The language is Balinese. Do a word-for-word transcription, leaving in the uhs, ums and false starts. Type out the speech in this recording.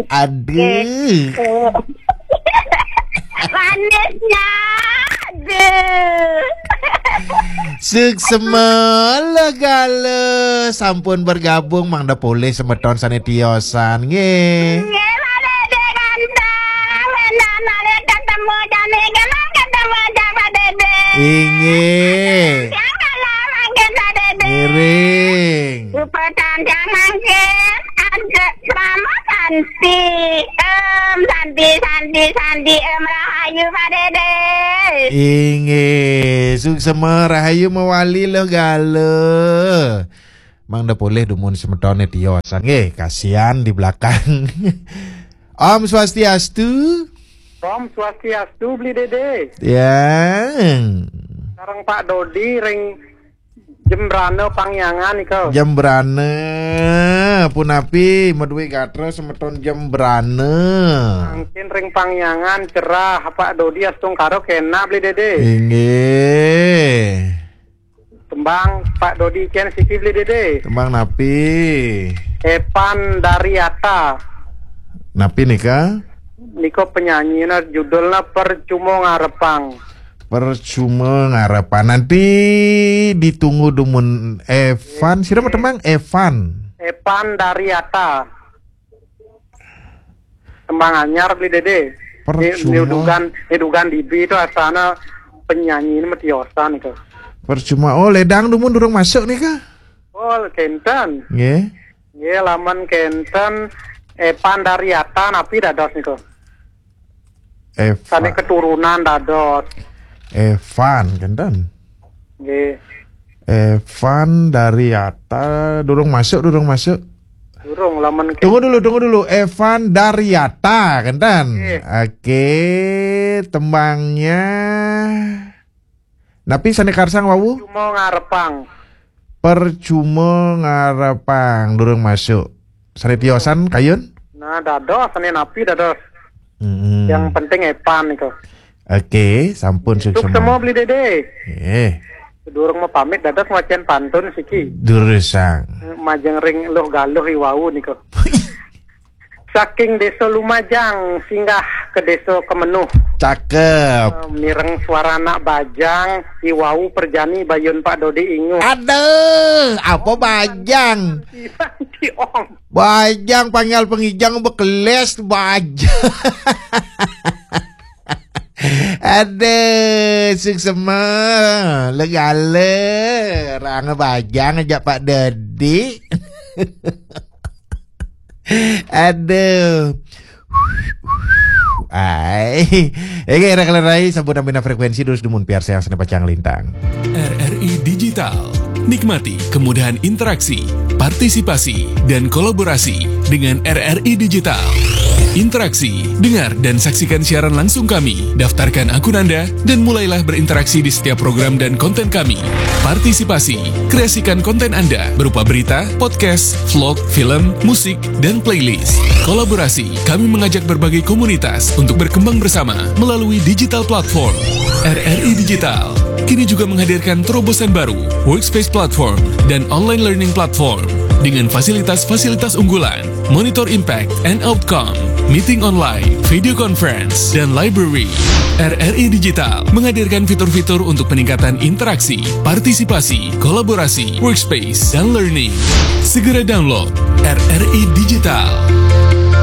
Aduh. Manisnya. Aduh. Suksema, legala sampun bergabung, mangda polih semeton sane tiosan nggih. Nggih, Pak Dede ganteng. Enak nalih ketemu jani, kena ketemu aja Pak Dede. Inggih. Yang kalah mangkin Pak Dede. Ngiring. Rupa tandang mangkin. Ada Mama Santi. Em, Santi, Santi, Santi, em, rahayu Pak Dede. Inggih, suksema rahayu mawali legala. Mangda polih dumun semetone tiosan nggih, kasihan di belakang. Om Swastiastu. Om Swastiastu, Beli Dede. Ya. Sareng Pak Dodi ring Jembrana Pangyangan nika. Jembrana, punapi madue gatra semeton Jembrana? Mangkin ring Pangyangan cerah, Pak Dodi astungkara kenak, Beli Dede. Inggih. Tembang Pak Dodi ken siki, Beli Dede. Tembang napi? Epan Dariata. Napi nika? Nika penyanyina, judulna Percuma Ngarepang. Percuma Ngarepang. Nanti ditunggu dumun Evan. Sira mau tembang Evan. Epan Dariata. Tembang anyar, Beli Dede. Percuma. Ni, ni dugan, ni dugan dibi itu asana penyanyi ini matiosan itu. Percuma. Oh, ledang dumun durung masuk nika? Oh, kenten. Nggih. Nggih, lamun kenten Epan Dariata napi dados niku? Evan. Sane keturunan dados. Evan, kenten. Nggih. Evan Dariata, durung masuk, durung masuk. Durung, lamun ke- Tunggu dulu, tunggu dulu. Evan Dariata, kenten. Nggih. Oke, tembangnya. Napi sane karsang wau? Percuma Ngarepang. Percuma Ngarepang, durung masuk. Sane tiosan kayun? Nah, dados, sane napi dados. Mm-mm. Yang penting Epan niku. Oke, sampun suksema. Suksema, Beli Dede. Eh. Durung mau pamit dados ngwacen pantun siki. Durusang. Majeng ring Luh Galuh iwau niku. Saking Desa Lumajang singgah ke Desa Kemenuh. Cakep. Eh, mireng suara anak bajang, iwau perjani bayun Pak Dodi inguh. Aduh, apa bajang? Iya, Om. Bajang panggal pengijang bekeles bajang. Aduh, suksema, legala, ranga bajang aja Pak Dodi. Aduh. Ai. Ege, era kalerai, sabun amina frekuensi, terus dumun piar sayang sene pacang lintang. R R I Digital. Nikmati kemudahan interaksi, partisipasi, dan kolaborasi dengan R R I Digital. Interaksi, dengar dan saksikan siaran langsung kami. Daftarkan akun Anda dan mulailah berinteraksi di setiap program dan konten kami. Partisipasi, kreasikan konten Anda berupa berita, podcast, vlog, film, musik, dan playlist. Kolaborasi, kami mengajak berbagai komunitas untuk berkembang bersama melalui digital platform. R R I Digital kini juga menghadirkan terobosan baru, Workspace Platform, dan Online Learning Platform dengan fasilitas-fasilitas unggulan, Monitor Impact and Outcome, Meeting Online, Video Conference, dan Library. R R I Digital menghadirkan fitur-fitur untuk peningkatan interaksi, partisipasi, kolaborasi, workspace, dan learning. Segera download R R I Digital.